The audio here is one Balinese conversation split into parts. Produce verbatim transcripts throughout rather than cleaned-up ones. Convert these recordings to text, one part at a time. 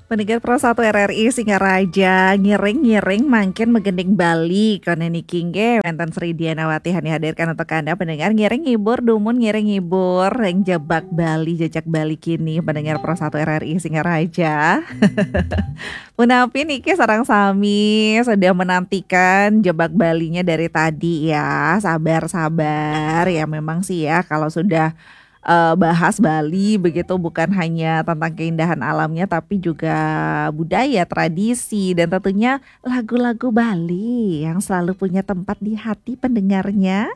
Pendengar Pro satu R R I Singaraja, ngiring-ngiring mangkin megending Bali. Koné niki nggih, wénten Sri Dianawati Hani hadirkan untuk Anda pendengar, ngiring ngibur, dumun ngiring ngibur ring jebak Bali, jejak Bali kini, pendengar Pro satu R R I Singaraja. Punapi niki sareng sami sudah menantikan jebak Balinya dari tadi ya. Sabar-sabar ya, memang sih ya, kalau sudah eh, bahas Bali begitu, bukan hanya tentang keindahan alamnya tapi juga budaya, tradisi, dan tentunya lagu-lagu Bali yang selalu punya tempat di hati pendengarnya.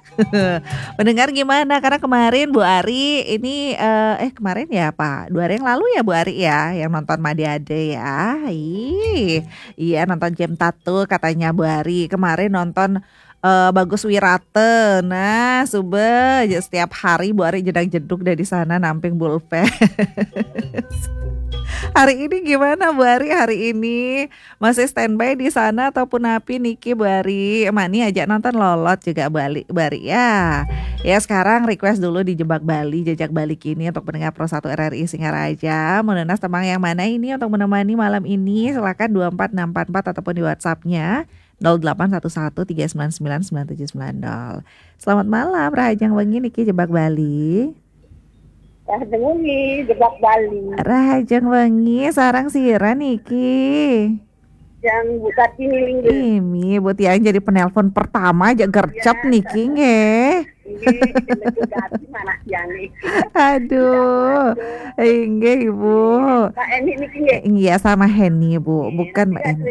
Pendengar gimana? Karena kemarin Bu Ari ini eh, eh kemarin ya apa? Dua hari yang lalu ya Bu Ari ya yang nonton Made Ade ya. Ih, iya, nonton Jem Tato katanya Bu Ari. Kemarin nonton eh, Bagus Wirata. Nah, suba aja setiap hari Bu Ari jedag-jedug dari sana namping bulpen. Hari ini gimana Bu Ari? Hari ini masih standby di sana ataupun api niki Bu Ari? Mani aja nonton lolot juga Bu Ari, Bu Ari ya. Ya, sekarang request dulu di Jebak Bali, Jejak Bali kini untuk pendengar Pro satu R R I Singaraja. Mau nunas tembang yang mana ini untuk menemani malam ini? Silakan dua empat enam empat empat ataupun di WhatsApp-nya nol delapan satu satu tiga sembilan sembilan sembilan tujuh sembilan nol. Selamat malam, Rahajeng Wengi niki Jebak Bali. Rahajeng Wengi, Jebak Bali. Rahajeng Wengi, sareng sira niki? Yang Bu Kartini nggih. Imi, Bu Tiang jadi penelpon pertama aja gercep niki nggih. Nggih, Bu Kartini mana Tiang niki? Aduh. Inggih, Ibu. Pak Eni niki nggih. Iya, sama Heni, Bu. Nggih, bukan Mbak Eni.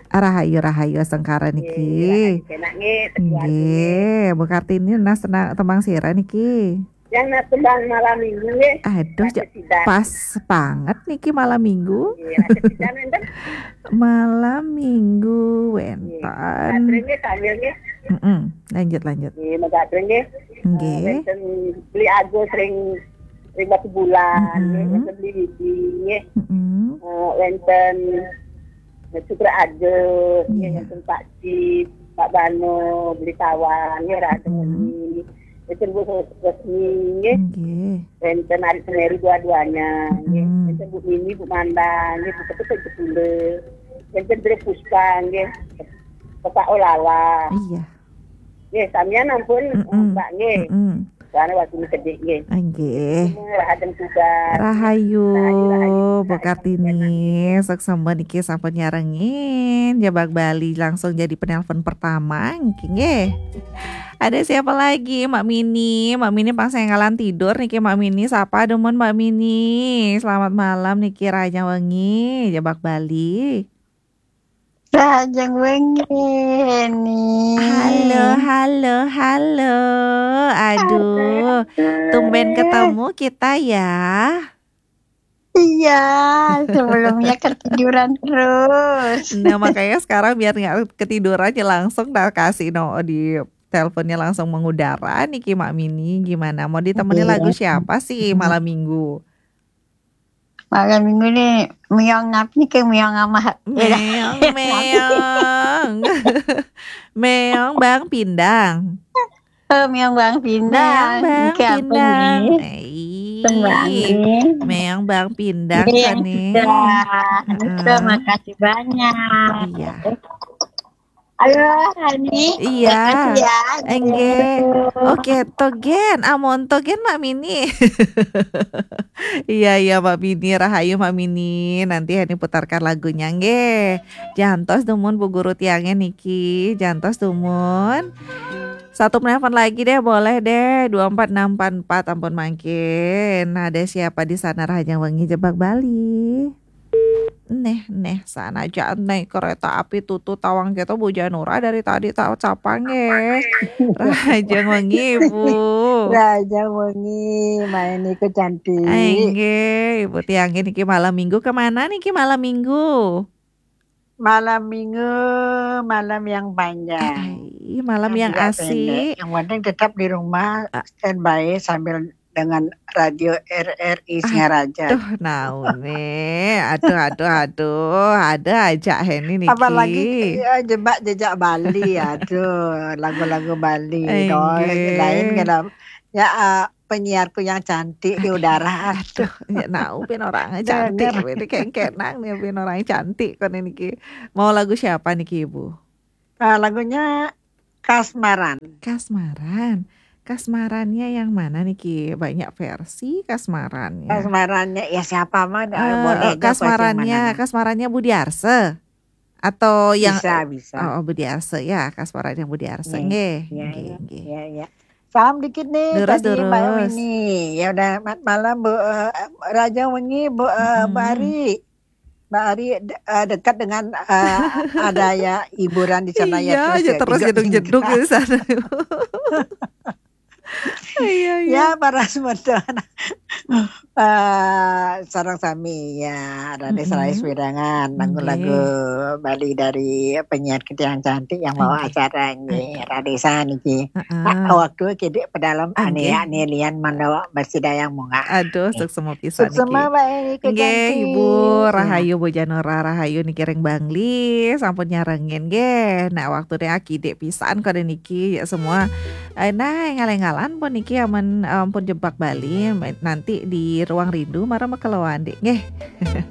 Rahayu, rahayu sengkara niki. Nggih, Bu Kartini nunas tembang sira niki? Yang nunas tembang malam minggu nggih. Aduh, pas banget niki malam minggu. Nggih, malam minggu wénten. Nggih, sambil nggih. Mm-mm. Lanjut, lanjut. Nggih, megatreng nggih. Nggih. Eh, wénten Beli Agus ring, ring Batu Bulan, nggih, wénten Beli Widi, nggih. Mm-mm. Eh, wénten Sukra Agus, nggih, wénten Pak Cip, Pak Bano, Beli Tawan, nggih, Radeni. Wénten Bu Resmi, nggih. Nggih. Wénten Ari Semeri dua-duanya, nggih. Mm-mm. Wénten Bu Mini, Bu Mandang, nggih, Bu Ketut, Bu Ketule. Wénten Dre Puspa, nggih. Bapak Olala. Iya. Nggih, samian ampun, mm-mm, Mbak, nggih. Mm-mm. Soalnya waktu ini sedih, nggih. Nggih. Rahayu, rahayu, Bu Kartini, sukses niki sampun nyarengin Jebak Bali langsung jadi penelpon pertama niki nggih. Ada siapa lagi? Mak Mini, Mak Mini pas ngalan tidur niki Mak Mini. Sapa dumun Mak Mini? Selamat malam niki Rahajeng Wengi, Jebak Bali. Rahajeng wengi, Heni. Halo, halo, halo. Aduh, tumben ketemu kita ya. Iya, sebelumnya ketiduran terus. Nah, makanya sekarang biar nggak ketiduran aja langsung dah kasih no di teleponnya langsung mengudara niki Mak Mini. Gimana? Mau ditemani lagu siapa sih malam minggu? Malam minggu nih, meong apa nih, kayak meong sama Meong, meong. Meong Bang Pindang. Oh, meong Bang Pindang. Meong Bang Pindang. Meong Bang Pindang kan nih. Terima kasih banyak. Iya. Halo, Hani. Iya. Makasih ya. Enggih. Oke, to gen. Amon to gen, Mak Mini. Iya, iya, Mak Mini. Rahayu, Mak Mini. Nanti Hani putarkan lagunya, nggih. Jantos dumun Bu Guru tiangnya niki. Jantos dumun. Satu penelpon lagi deh, boleh deh. Dua empat enam empat empat, ampun mangkin. Ada siapa di sana, Rahajeng Wengi Jebak Bali? Neh, neh, sana aja naik kereta api tutu tawang kita Bu Janura dari tadi tak capang ya. Rahajeng Wengi, Bu. Rahajeng Wengi, main ikut cantik. Enggih, Ibu Tiang ini ki malam minggu kemana nih ki malam minggu? Malam minggu, malam yang panjang. Ai, malam yang asik. Yang penting tetap di rumah, standby sambil dengan radio R R I Singaraja. Aduh, naune. Aduh, aduh, aduh. Ada aja Heni niki. Apalagi ya, jebak jejak Bali. Aduh, lagu-lagu Bali. Enggih. Lain kan. Ya, uh, penyiarku yang cantik di udara. Aduh, ya nau pin orang cantik, ini kengkenang nih pin orang cantik kan ini ki. Mau lagu siapa nih ki Ibu? Uh, lagunya Kasmaran. Kasmaran. Kasmarannya yang mana nih ki? Banyak versi kasmarannya. Kasmarannya ya siapa mah uh, boleh. Kasmarannya, kasmarannya Budi Arse. Atau yang bisa, bisa. Oh, Budi Arse ya, kasmaran yang Budi Arse. Nggih, nggih, nggih. Ya, ya. Salam dikit nih durus, tadi durus. Mbak Winnie. Ya udah malam Bu uh, Raja Wengi Bu uh, hmm. Mbak Ari. Mbak Ari de- uh, dekat dengan uh, ada ya hiburan di sana iya, ya terus ya, terus jeduk-jeduk di sana. Iya, iya. Ya para semeton. Uh, sarang sami ya Radesa mm-hmm. Rais Wirangan lagu-lagu Bali dari penyiar kita yang cantik yang mau acara ini Radesa niki. Uh-uh. Nah, waktu kidik pedalem ane ane lian mandawa bersidayang munga. Aduh, suksma pisan niki. Suksma baik. Nggih, Ibu Rahayu Bu Janora Rahayu niki ring Bangli sampun nyarengin nggih. Nah, waktu nih akidik pisan kode niki ya semua. Eh, nah, ngalengalan pun niki aman ampun jebak Bali nanti di ruang rindu mara makeloan dik nggih.